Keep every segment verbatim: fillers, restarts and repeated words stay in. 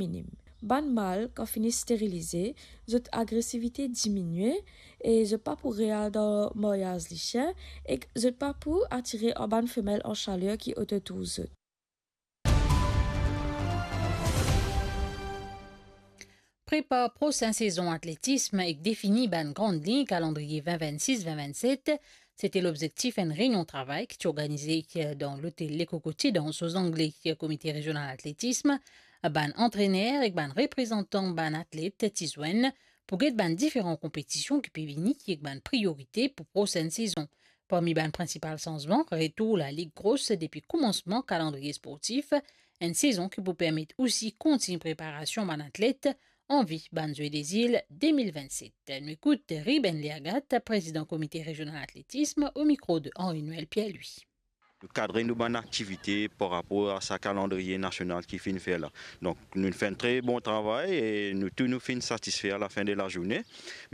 minim. Bann mal, kan fini sterilize, zot agresivite diminie e zot pa pou re al dan maryaz lisien, ek zot pa pou atire bann femel an saler ki ototour zot. Prepar prosin sezon atletism ek defini bann gran lign kalandriye vin vinn sis, vin vinn set, se ti lobzektif enn reynion travay ki ti organize dan lotel Le Cocotier dan Anse aux Anglais, Komite Rezional Atletism, bann antrener ek bann reprezantan bann atlet ti zwenn pou get bann diferan konpetision ki pe vini ek bann priyorite pou prosenn sezon. Parmi bann prinsipal sanzman, retour Lalig Gros depi koumansman kalandriye sportif, enn sezon ki pou permet osi kontign preparasion bann atlet anvi bann Zwe Dezil de mil vinn set. Nou ekout Ruben Leagat, prezidan Komite Rezional Atletism, o mikro de Henri-Noël Pierre-Louis. Nou kadre nou bann aktivite par rapor a sa kalandriye nasional ki finn fer la. Donk, nou fer enn tre bon travay e nou tou nou finn satisfe a lafin de lazourne.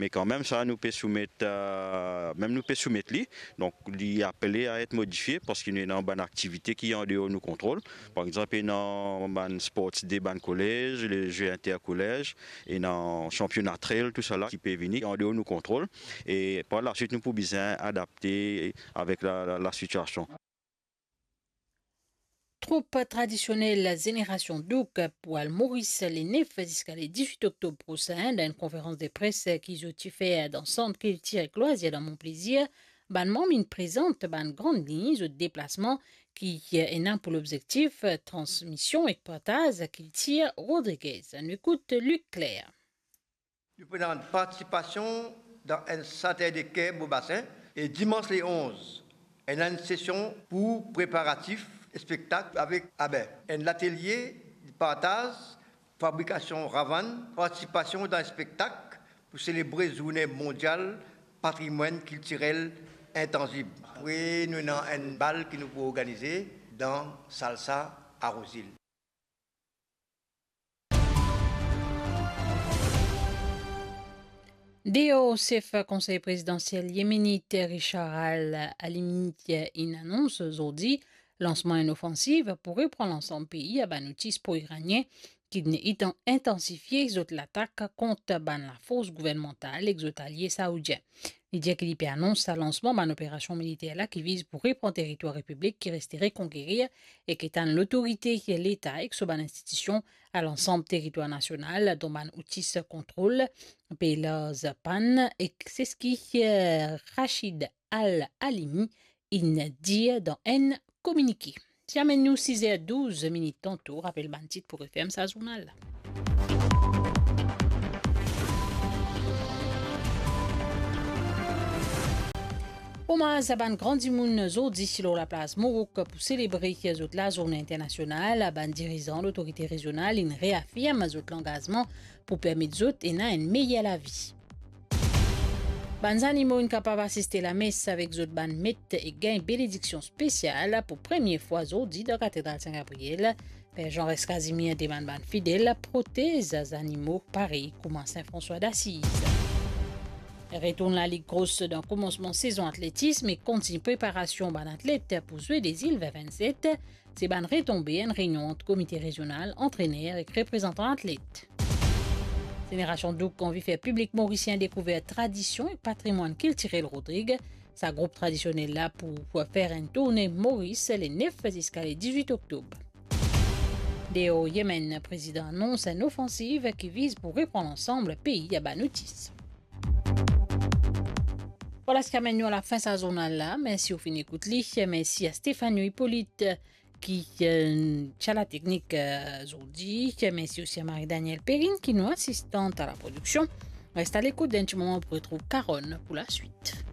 Me kanmem sa, nou pe soumet, eh, mem nou pe soumet li. Donk, li apele a et modifie parski nou ena bann aktivite ki andeor nou kontrol. Par exanp, ena bann sports de bann kolez, le Zwe interkolez, ena sanpiona trail, tousala ki pe vini andeor nou kontrol. E par laswit, nou pou bizin adapte avek la, la, lasitiasion. Troup tradisionel Zenerasion Douk pou al Moris le nef ziska le dizwit oktob prosin, dan enn konferans de pres ki zot ti fer dan Sant Kiltir ek Lwazir dan Mont Plaisir, bann manm inn prezant bann gran lign zot deplasman ki ena pou lobzektif transmision ek partaz kiltir Rodriguez. Nou ekout Luc Claire. Nou pou ena partisipasion dan enn Saturday Care Beau Bassin e dimans le onz, ena enn sesion pou preparatif spektak avek, abe, enn latelie partaz fabrikasion ravann, partisipasion dan spektak pou selebre Zourne Mondial Patrimwann Kiltirel Intanzib. Apre, nou ena enn bal ki nou pou organize dan Salsa a Rosil. Deor, sef Konsey Prezidansiel yemenit Richard Al-Alimi inn anons zordi lansman enn ofansiv pou repran lansam pei a bann outis pro-iranien ki inn intan-, intansifie zot latak kont bann lafors gouvernmantal ek zot alie saoudien. Li dir ki li pe anons sa lansman bann operasion militer la ki viz pou repran teritwar repiblik ki reste rekonkerir e ki tann lotorite leta ek so bann institision a lansam teritwar nasional, dan bann outis kontrol pe larz pann, ek se seki, eh, Rachid Al-Alimi inn dir dan enn kominike. Ti amenn nou siz er douz minit tanto, rapel bann tit pou referm sa zournal la. Omaz a bann gran dimoun zordi lor laplas Morok pou selebre zot lazourne internasional. Bann dirizan lotorite rezional inn reafirm zot langazman pou permet zot ena enn meyer lavi. Bann zanimo inn kapav asiste lames avek zot bann met e gagn benediksion spesial pou premie fwa zordi dan Katedral Sin Gabriel. Per Jean Rex Casimir demann bann fidel protez zanimo parey kouma Sin Franswa d'Asiz. Retourn Lalig Gros dan koumansman sezon atletism e kontign preparasion bann atlet pou Zwe Dezil vin vinn set, se bann retonbe enn reynion ant komite rezional, antrener ek reprezantan atlet. Zenerasion Douk anvi fer piblik morisien dekouver tradision ek patrimwann kiltirel Rodrig. Sa group tradisionel la pou, pou fer enn tourne Moris le nef ziska le dizwit oktob. Deor Yemen, prezidan anons enn ofansiv ki viz pou repran lansam pei a bann outis. Vwala seki amenn nou alafin sa zournal la. Mersi ou finn ekout li. Mersi a Stéphanie Hippolyte ki, eh, ti a lateknik, eh, zordi. Mersi osi a Marie-Danielle Perrine ki nou asistant a laprodiksion. Res a lekout, dan enn ti moman pou retrouv Carole pou laswit.